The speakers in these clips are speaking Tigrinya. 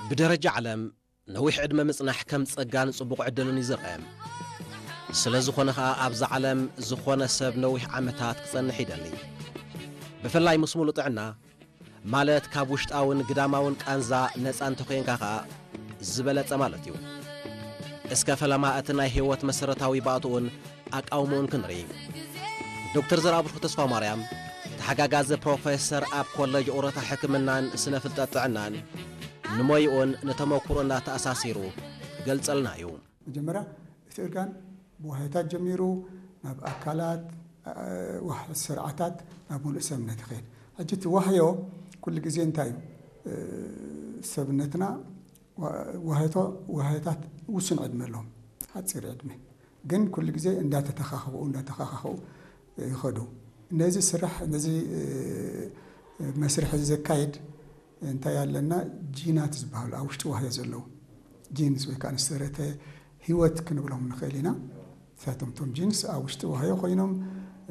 ብደረጃ ዓለም ነዊሕ ዕድመ ምጽናሕ ከም ጸጋን ጽቡቕ ዕድልን እዩ ዝርአ። ስለ ዝኾነ ኸኣ ኣብዛ ዓለም ዝኾነ ሰብ ነዊሕ ዓመታት ክጸንሕ ይደሊ። ብፍላይ ምስ ሙሉእ ጥዕና፣ ማለት ካብ ውሽጣውን ግዳማውን ቃንዛ ነጻ እንተኾይንካ ኸኣ ዝበለጸ ማለት እዩ። እስከ ፈለማ እቲ ናይ ህይወት መሰረታዊ ባእትኡን ኣቃውምኡን ክንርኢ። ዶክተር ዘርኣብሩኽ ተስፋ ማርያም፣ ተሓጋጋዚ ፕሮፌሰር ኣብ ኮለጅ ኦሮታ ሕክምናን ስነ ፍልጠት ጥዕናን፣ ንሞይኡን ንተመኩሮን እናተኣሳሲሩ ገልጸልና እዩ። መጀመርያ እቲ እርጋን ብዋህዮታት ጀሚሩ ናብ ኣካላት፣ እ፣ ዋህ-፣ ስርዓታት፣ ናብ ሙሉእ ሰብነት ይኸይድ። ሕጂ እቲ ዋህዮ ኩሉ ግዜ እንታይ እዩ? እ፣ ሰብነትና ዋ-፣ ዋህዮቶ-፣ ዋህዮታት ውሱን ዕድመ ኣለዎም፣ ሓፂር ዕድመ። ግን ኩሉ ግዜ እንዳተተኻኸቡ፣ እንዳተኻኻኸቡ ይኸዱ። ነዚ ስራሕ፣ ነዚ፣ እ፣ መስርሕ እዚ ዘካይድ እንታይ ኣለና? ጂናት ዝበሃሉ ኣብ ውሽጢ ዋህዮ ዘለዉ ጂንስ ወይ ከዓ ንዝተረተ ህይወት ክንብሎም ንኽእል ኢና። ንሳቶም እቶም ጂንስ ኣብ ውሽጢ ዋህዮ ኮይኖም፣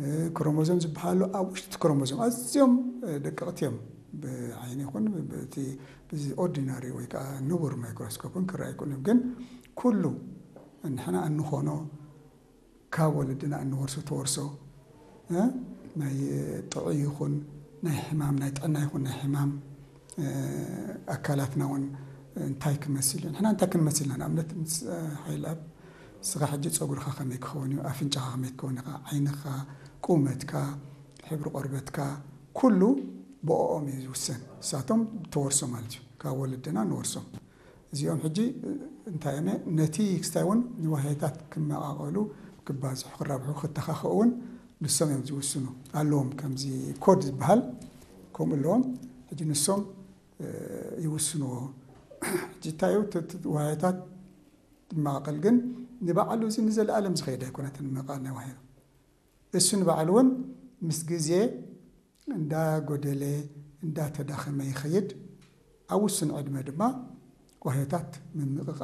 እ፣ ክሮሞዞም ዝበሃሉ ኣብ ውሽጢ እቲ ክሮሞዞም ኣዝዮም፣ እ፣ ደቀቕቲ እዮም። ብዓይኒ ይኹን ብ-፣ ብቲ፣ ብዚ ኦርዲናሪ ወይ ከዓ ንቡር ማይክሮስኮፕን ክረኣዩ ይክእሉ እዮም። ግን ኩሉ ንሕና እንኾኖ ካብ ወለድና እንወርሶ ተወርሶ፣ እ፣ ናይ ጥዑይ ይኹን ናይ ሕማም፣ ናይ ጥዕና ይኹን ናይ ሕማም፣ እ፣ ኣካላትና እውን እንታይ ክመስል እዩ? ንሕና እንታይ ክንመስል ኢና? ንኣብነት ምስ፣ እ፣ ሓይልኣብ፣ ንስኻ ሕጂ ጸጉርኻ ከመይ ክኸውን እዩ? ኣፍንጫኻ ከመይ ክኸውን እዩ? ዓይንኻ፣ ቁመትካ፣ ሕብሪ ቆርበትካ፣ ኩሉ ብኦኦም እዩ ዝውሰን። ንሳቶም ተወርሶ ማለት እዩ። ካብ ወለድና ንወርሶም። እዚኦም ሕጂ እንታይ እዮም? ነቲ ክስታይ እውን ንዋህዮታት ክመቓቐሉ፣ ክባዝሑ፣ ክራብሑ፣ ክተኻኸኡ እውን ንሶም እዮም ዝውስኑ። ኣለዎም ከምዚ ኮድ ዝበሃል ከምኡ ኣለዎም። ሕጂ ንሶም፣ እ፣ ይውስንዎ። ሕጂ እንታይ እዩ? እቲ፣ እቲ ዋህዮታት ይመቓቐል፣ ግን ንባዕሉ እዚ ንዘለኣለም ዝኸይድ ኣይኮነትን ምምቓል ናይ ዋህዮ። እሱ ንባዕሉ እውን ምስ ግዜ እንዳጎደለ፣ እንዳተዳኸመ ይኸይድ። ኣብ ውሱን ዕድመ ድማ ዋህዮታት ምምቕቓል